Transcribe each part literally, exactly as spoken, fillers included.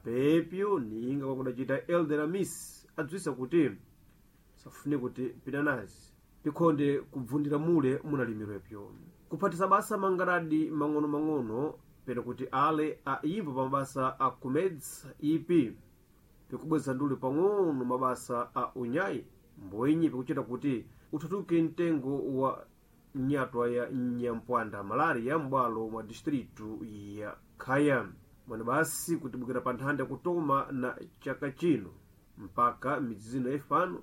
Napepyo ninga kwakudacita Elder Amis adzwisa kuti safune kuti pinanazi pikhonde kubvundira mule munalimirwepyo kuphatisa basa mangaradi mang'ono-mang'ono pena kuti ale aimba pa mabasa a kumedza ipi pikubweza ndule pang'ono mabasa a unyayi mbwenyi pikuchita kuti uthatuke mtengo wa nyatwa ya nyampwanda malaria m'bwalo mwa distritu ya Khaya. Mwene basi kutibukira pa nthanda kutoma na chaka chino mpaka midzi zino yafipano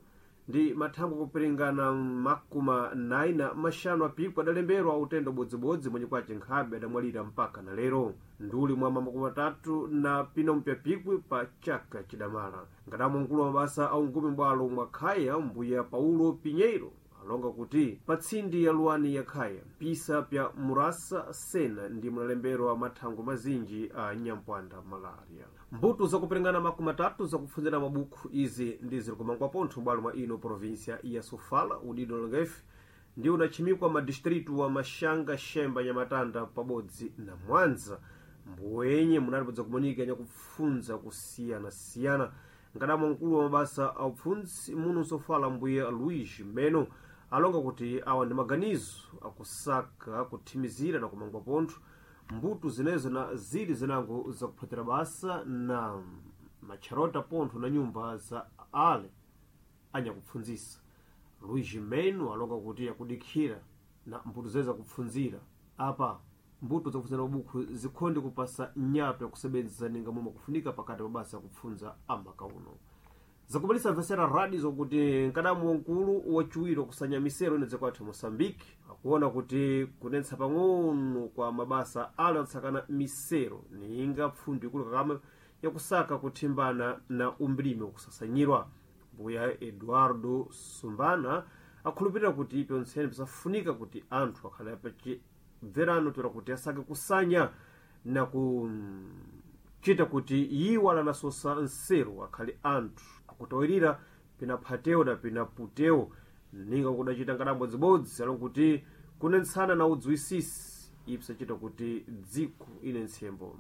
ndi mathangwe akuperingana makumi nayi na maxanu apikwi adalemberwa utenda ubodzibodzi mwenye kwace nkhabe adamwalira mpaka na lero nduli mwa makumi atatu na pinompya pikwi pa chaka chidamala. Nkadamwa mkulu wa mabasa a ungumi m'bwalo mwa Khaya mbuya Paulo Pinheiro alonga kuti pa tsindi ya luwani ya Khaya pisa pya murasa sena ndi munalemberwa mathango mazinji a nyampwanda malaria. Mbuto zakuperingana makumi atatu zakupfunzira mabukhu izi ndi zilikumangwa pontho m'bwalo mwa ino provinsia ya Sofala udido longefe ndi unachimikwa madistritu wa Maxanga, Xemba, Nyamatanda pabodzi na Mwanza mbwenye munalipodza kumonika nyakupfunza kusiyanasiyana. Nkadamwa mkulu wa mabasa a upfundzi muno Sofala mbuya Luís Meno alonga kuti awa ndi maganizo akusaka kuthimizira na kumangwa pontho mbuto zinezo na zili zinango zakuphatira basa na matcharota pontho na nyumba za ale anyakupfundzisa. Luís Meno alonga kuti akudikhira na mbuto zene zakupfunzira apa mbuto zakupfunzira mabukhu zikhonde kupasa nyato yakusebenzesa ninga momwe kufunika pakati pa basa yakupfunza amakauno. Zakubalisa mvesera radio zokuti nkadamu wankulu wachiwiri wakusanya misero inadze kwathu Moçambique akuona kuti kunetsa pang'ono kwa mabasa ale atsakana misero ninga pfundu ikulu kakama yakusaka kuthimbana na umbilime wakusasanyirwa. Mbuya Eduardo Sumbana akhulupirira kuti pyontsene pisafunika kuti anthu akhale pachibverano toera kuti asake kusanya na kuchita kuti iwo alanasosa nseru akhale anthu akutawirira pinaphatewo na pinaputewo ninga kudacita nkadambodzibodzi alokuti kunentsana na udziwisisi ipsachita kuti dziko ine ntsembo.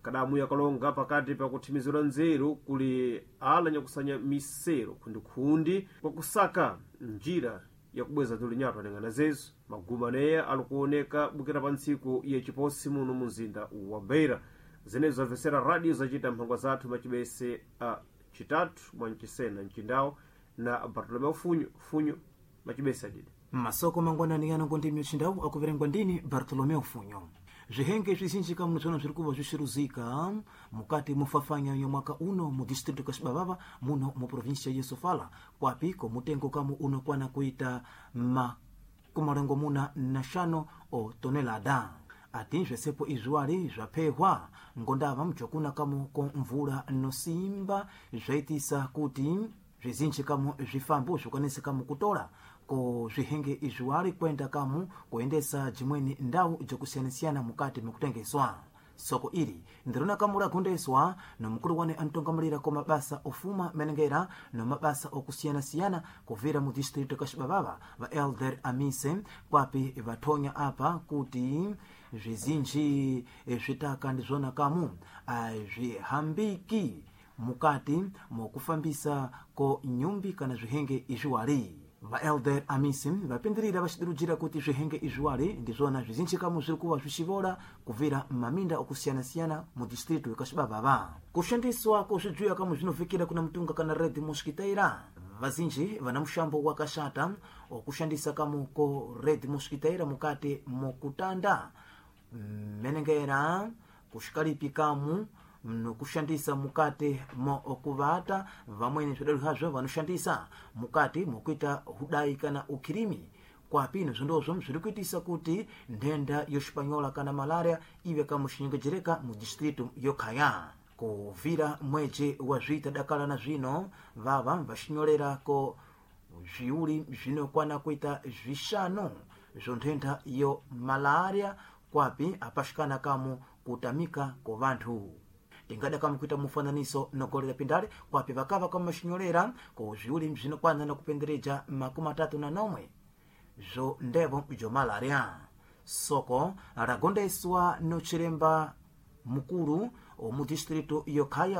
Kadamu yakalonga pakati pakuthimizira nzeru kuli ala nyakusanya misero khundikhundi kwakusaka njira yakubweza tulinyatwa aneng'ana zezo maguma aneya alikuoneka bukira pa ntsiku yachiposi muno mumzinda wa Beira. Zenezo zamvesera radio zacita mphangwa zathu machibese a chitatu mwanchisena mchindawo na Bartolomeu Funyo Funyo machibese adidi masoko mangwanani yanongo ndimi mchindawu akuverengwa ndini Bartolomeu Funyo. Zvihenge zvizinji kamuno zvona zviri kuva zvixiruzika mukati mufafanya yo mwaka uno mu distrito ka Xibavava muno mu província ya Sofala kwapi ko mutengo kamu unokwana kuita makumalengo muna na xano o tonelada. Ati zvesepo izviwali zvaphehwa ngondava mjokuna kamu ko mvula nosimba zvaitisa kuti zvizinji kamu zvifambo zvikwanise kamu kutola ko zvihenge izviwali kwenda kamu kuendesa jimweni ndau jokusiyanasiyana mukati mikutengeswa. Soko ili ndirona kamu lagondeswa nomukulu wane antongamulira ko mabasa ofuma menengera no mabasa okusiyanasiyana kuvira mu distrito ka Xibavava va Elder Amise kwapi vathonya apa kuti zvizinji zvitaka ndizvona kamu azvihambiki mukati mokufambisa ko nyumbi kana zvihenge izviwali. Va Elder Amisi vapindirira vaxidirujira kuti zvihenge izviwali ndizvona zvizinji kamu zviri kuva zvixivola kuvira maminda okusiyana-siyana mu distritu ya Xibavava. Kushandiswa ko zvijuya kamu zvinovikira kuna mutunga kana red mosquiteira. Vazinji vana muxambo wakaxata okushandisa kamu ko red mosquiteira mukati mokutanda menengera kuxikalipi kamu nokushandisa mukati mokuvata. Vamweni zvidalo hazvo vanoshandisa mukati mokuita hudai kana ukhirimi kwapino zvondozvo zviri kuitisa kuti nthenda yoxipanyola kana malaria ive kamuxinyengedzereka mu distritu yokhaya. Kuvira mweji wa zvita dakala na zvino vava vaxinyolera ko zviuli zvinokwana kuita zvixanu zvo nthenda yo malaria kwapi apaxikana kamu kutamika ko vanthu. Tingada kamu kuita mufananiso nogolera pindale kwapi vakava kamuxinyolera ko zviuli zvinokwana na kupendereja makumi atatu na nomwe zvo ndevo bzo malaria. Soko lagondeswa no chiremba mukulu mu distritu yokhaya.